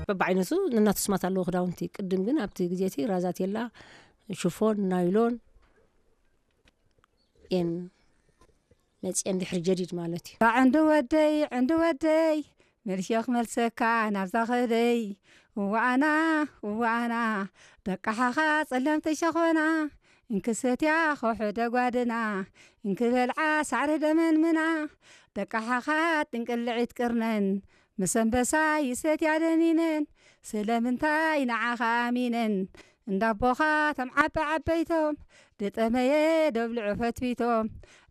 በብዓይነቱ ነናቱ ስማት ኣለዎ ክዳውንቲ። ቅድም ግን ኣብቲ ግዜ እቲ ራዛቴላ፣ ሽፎን፣ ናይሎን እየን መፅየን ድሕሪ ጀዲድ ማለት እዩ። ዕንዲ ወደይ፣ ዕንዲ ወደይ፣ መልሼ ክመልሰካ ናብዛ ኸደይ። እዋኣና፣ እዋኣና፣ ደቃሓኻ ጸለምቲ ሸኾና፣ እንክሰትያ ኾሑ ደጓድና፣ እንክበልዓ ሳዕሪ ደመንምና፣ ደቃሓኻ ጥንቅልዒት ቅርነን፣ ምስ ኣንበሳ ይሰትያ ደኒነን፣ ስለምንታይ ንዓኻ ኣሚነን፣ እንዳቦኻ ቶም ዓበ ዓበይቶም፣ ድጠመየ ደብልዑ ፈትፊቶም፣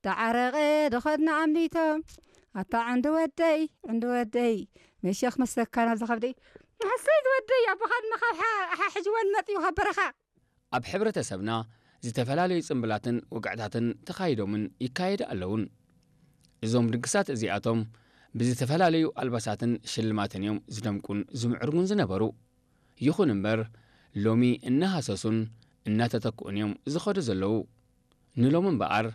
ዳዓረቐ ድኸድና ኣምሊቶም። ኣታ ዕንዲ ወደይ፣ ዕንዲ ወደይ፣ መሸኽ መሰካ ናብ ዝኸብደይ። ሓሰይ ዝወደይ፣ ኣቦኻ ድማ ካብ ሓ-፣ ሓ-፣ ሕጅወን መጥዩ ካብ በረኻ። ኣብ ሕብረተሰብና ዝተፈላለዩ ጽምብላትን ወግዕታትን ተኻይዶምን ይካየዱ ኣለዉን። እዞም ድግሳት እዚኣቶም ብዝተፈላለዩ ኣልባሳትን ሽልማትን እዮም ዝደምቁን ዝምዕርጉን ዝነበሩ። ይኹን እምበር፣ ሎሚ እናሃሰሱን እናተተክኡን እዮም ዝኸዱ ዘለዉ። ንሎሚ እምበኣር፣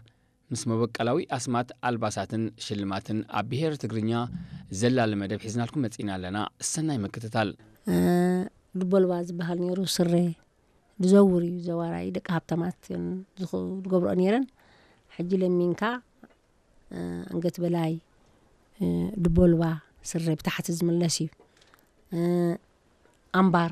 ምስ መበቀላዊ ኣስማት ኣልባሳትን ሽልማትን ኣብ ብሄር ትግርኛ ዘላሊ መደብ ሒዝናልኩም መጺና ኣለና። ሰናይ ምክትታል። እ፣ ድቦልባ ዝበሃል ነይሩ፣ ስረ ዝዘውር እዩ፣ ዘዋራይ ደቂ ሃብታማት ዝኹ-፣ ዝገብርኦ ነይረን። ሕጂ ለሚንካ፣ እ፣ ኣንገት በላይ፣ እ፣ ድቦልባ ስረ ብታሕቲ ዝምለስ እዩ። እ፣ ኣምባር